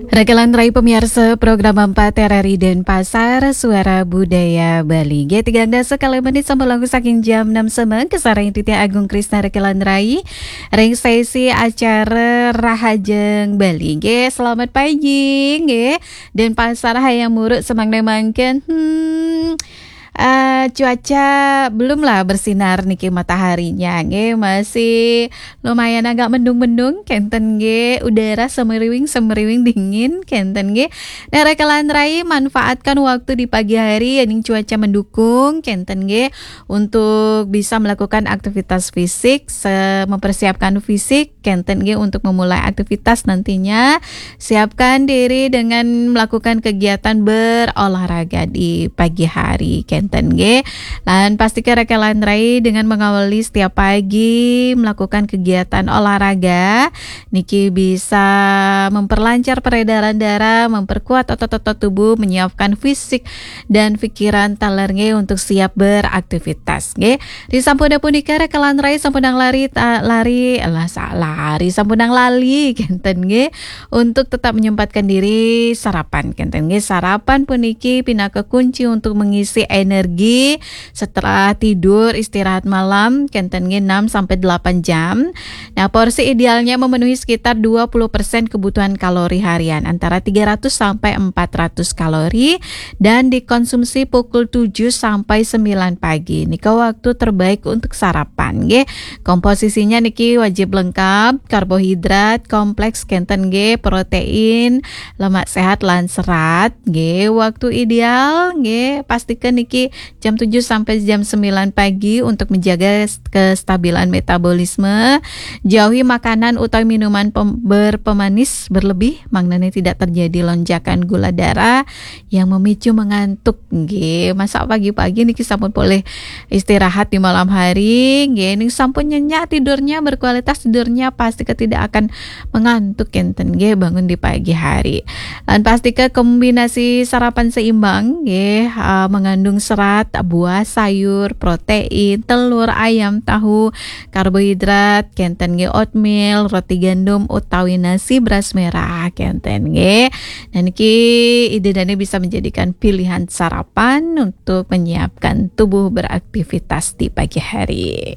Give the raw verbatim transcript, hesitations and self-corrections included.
Raka lan rai pamiarsa program empat R R I Denpasar, Suara Budaya Bali. Nggih, tigang dasa kalih menit sampun langkung saking jam enam semeng, kasarengin titiang Agung Krisna raka lan rai ring sesi acara Rahajeng Bali. Nggih, selamat pagi, nggih. Denpasar hayang muruk semeng mangkin. Hmm, eh, cuaca belum lah bersinar niki mataharinya, nggih, masih lumayan agak mendung-mendung, kenten nggih, udara semeriwing-semeriwing dingin, kenten nggih. Nah, raka lan rai manfaatkan waktu di pagi hari, yening cuaca mendukung, kenten nggih, untuk bisa melakukan aktivitas fisik, se-, mempersiapkan fisik, kenten nggih, untuk memulai aktivitas nantinya. Siapkan diri dengan melakukan kegiatan berolahraga di pagi hari, kenten nggih. Lan pastika raka lan rai dengan mengawali setiap pagi melakukan kegiatan olahraga, niki bisa memperlancar peredaran darah, memperkuat otot-otot tubuh, menyiapkan fisik dan pikiran taler nggih untuk siap beraktivitas nggih. Ri sampun punika raka lan rai sampunang lari, ta-, lari, lah, sa-, lari, sampunang lali, kenten nggih, untuk tetap menyempatkan diri sarapan, kenten nggih. Sarapan puniki pinaka kunci untuk mengisi energi setelah tidur, istirahat malam, kenten nggih, enam sampai delapan jam. Nah, porsi idealnya memenuhi sekitar dua puluh persen kebutuhan kalori harian, antara tiga ratus sampai empat ratus kalori, dan dikonsumsi pukul tujuh sampai sembilan pagi. Nika waktu terbaik untuk sarapan, nggih. Komposisinya niki wajib lengkap, karbohidrat kompleks, kenten nggih, protein, lemak sehat lan serat, nggih. Waktu ideal, nggih, pastikan niki jam tujuh sampai jam sembilan pagi untuk menjaga kestabilan metabolisme. Jauhi makanan utawi minuman pem-, berpemanis berlebih, mangdane tidak terjadi lonjakan gula darah yang memicu mengantuk. Nggih, masa pagi-pagi niki sampun polih istirahat di malam hari, nggih, ning sampun nyenyak tidurnya, berkualitas tidurnya, pastika tidak akan mengantuk, kenten nggih, bangun di pagi hari. Lan pastika kombinasi sarapan seimbang nggih, eh, mengandung serat, buah, sayur, protein, telur, ayam, tahu, karbohidrat, kenten nggih, oatmeal, roti gandum utawi nasi beras merah, kenten nggih. Nah, niki ida dane bisa menjadikan pilihan sarapan untuk menyiapkan tubuh beraktivitas di pagi hari.